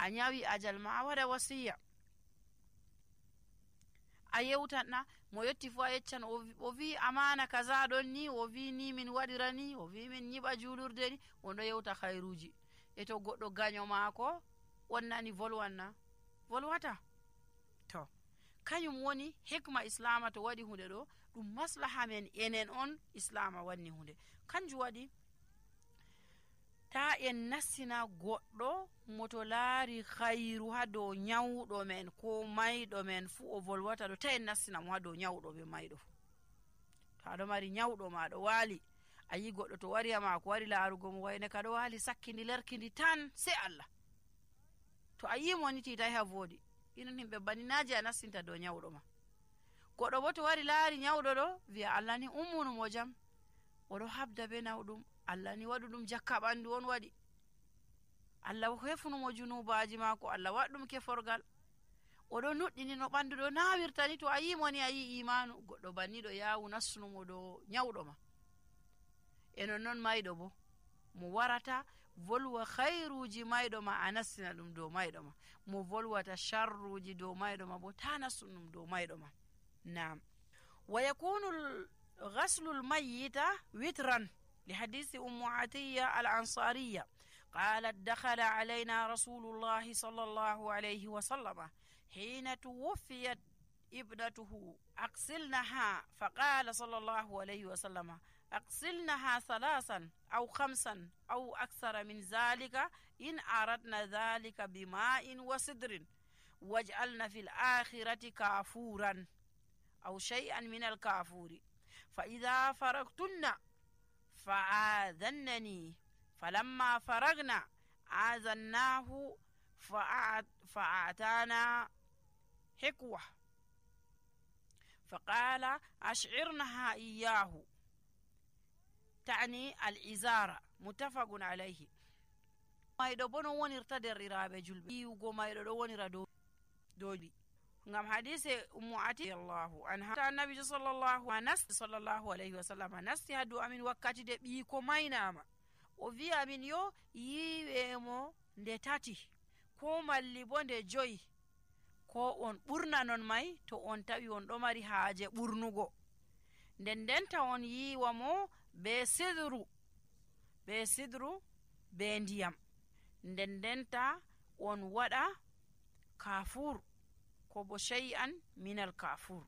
a nyawi ajal ma a waɗa wasiya, a yewtanna mo yetti fu a yeccan o wi amana kaza ɗon ni, o wi ni min waɗira ni, o wi min nyiɓa julurde ni, oɗo yewta khairuji. E to goɗɗo gaño maako on nani volwanna, volwata. To kañum woni hikma islama to waɗi hunde ɗo ɗum maslaha men enen on islama wanni hunde. Kanjum waɗi ta en nassina goɗɗo moto laari khairu ha dow nyawɗo men ko mayɗo men fu o volwata ɗo, ta en nassina mo ha dow nyawɗo be mayɗo fu. To aɗo mari nyawɗo ma ɗo waali, a yi goɗɗo to wari ha maako wari laarugo mo wayne ka ɗo waali sakkindi lerkindi tan sei Allah, to a yi mo ni titai ha voodi, inon himɓe baninaji a nassinta dow nyawɗo ma. Goɗɗo bo to wari laari nyawɗo ɗo wiya Allah ni ummunu mo jam, oɗo habda be nawɗum, Allah ni waɗu ɗum jakka ɓandu on waɗi, Allah hefnumo junubaji maako, Allah waɗɗum keforgal, oɗo nuɗɗini no ɓandu ɗo nawirta ni. To a yi mo ni a yi imanu. Goɗɗo banniɗo yawu nassunumo dow nyawɗo ma. E non mayɗo bo mo warata volwa khairuji mayɗo ma a nassina ɗum dow mayɗo ma, mo volwata sharruji dow mayɗo ma bo ta nassun ɗum dow mayɗo ma. Naam. Wa yakunu ghaslu al-mayyita witran لحديث أم عطية الأنصارية قالت دخل علينا رسول الله صلى الله عليه وسلم حين توفيت ابنته أغسلنها، فقال صلى الله عليه وسلم أغسلنها 3 أو 5 أو أكثر من ذلك إن أردنا ذلك بماء وسدر، واجعلنا في الآخرة كافورا أو شيئا من الكافور، فإذا فرغتن فآذنني، فلما فرغنا آذناه فأعطانا حكوة، فقال أشعرنها إياه، تعني الإزارة، متفق عليه. mayɗo bo no wonirta derɗiraɓe julɓe, yiwugo mayɗo ɗo wonira dow ngam hadise ummu ati Allahu anha ta annabi sallallahu alaihi wasallam nasti hadu amin wakkati de ɓiiko maynama, o wi amin yo yiwemo nde 3 ko malli bo nde 5, ko on ɓurna non may to on tawi on ɗo mari haaje ɓurnugo, ndenta on yiwa mo be sidru be ndiyam, ndenta on waɗa kafur ko bo shay'an minal kafur,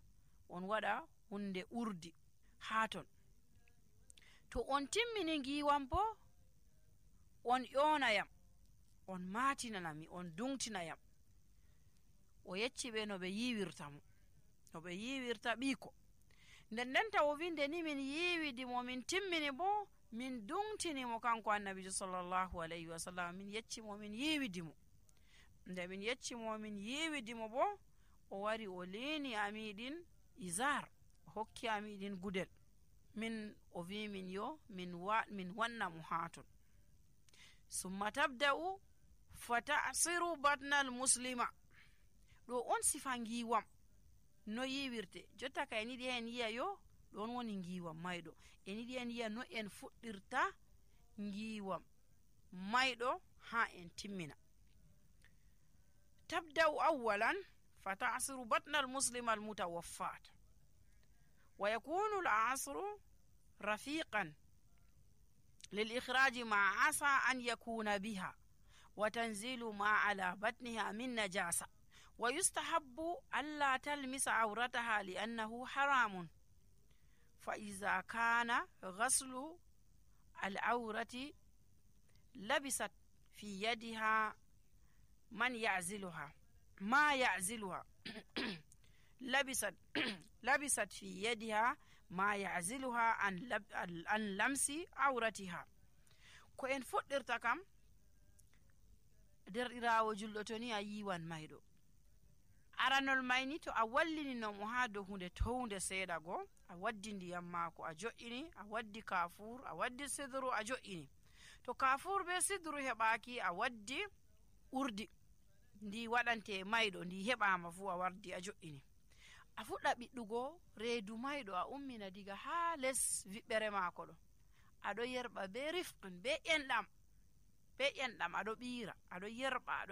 on waɗa hunde urdi haton. To on timmini ngiwam bo on ƴonayam, on matinanami, on dungtinayam. O yecci ɓe no ɓe yiwirta mo, no ɓe yiwirta ɓiiko. Ndenta o winde ni min yiwidi mo min timmini bo min dungtini mo kanko annabijo sallallahu alaihi wasallam, min yecci mo min yiwidi mo. Nde min yecci mo min yiwidi mo bo o wari o lini amiɗin izar, o hokki amiɗin gudel, min o wi min yo min wanna mo haton. Summa tabda'u fata'siru batnal muslima. ɗo on sifa ngiwam no yiwirte. Jotta ka en yiɗi en yiya yo ɗon woni ngiwam mayɗo, en yiɗi en yiya no en fuɗɗirta ngiwam mayɗo ha en timmina. tabda'u awwalan fata'siru batnal muslima almutawaffat, wa yakunu al'asru rafiqan للإخراج ما عسى أن يكون بها وتنزيل ما على بطنها من نجاسة، ويستحب ألا تلمس عورتها لأنه حرام، فإذا كان غسل العورة لبست في يدها ما يعزلها لبست في يدها ما يعزلها عن لمس عورتها. ko en fuɗɗirta kam derɗirawo julɗo to ni a yiwan mayɗo, aranol mayni to a wallini no mo ha dow hunde townde seeɗa go, a waddi ndiyam maako a jo'ini, a waddi kafur, a waddi sidru a jo'ini. To kafur be sidru heɓaki, a waddi urdi ndi waɗante mayɗo, ndi heɓama fu a wardi a jo'ini. A fuɗɗa ɓiɗɗugo reedu mayɗo, a ummina diga ha les viɓɓere maako ɗo, aɗo yerɓa be rifɗum be enɗam aɗo ɓiira, aɗo yerɓa, aɗo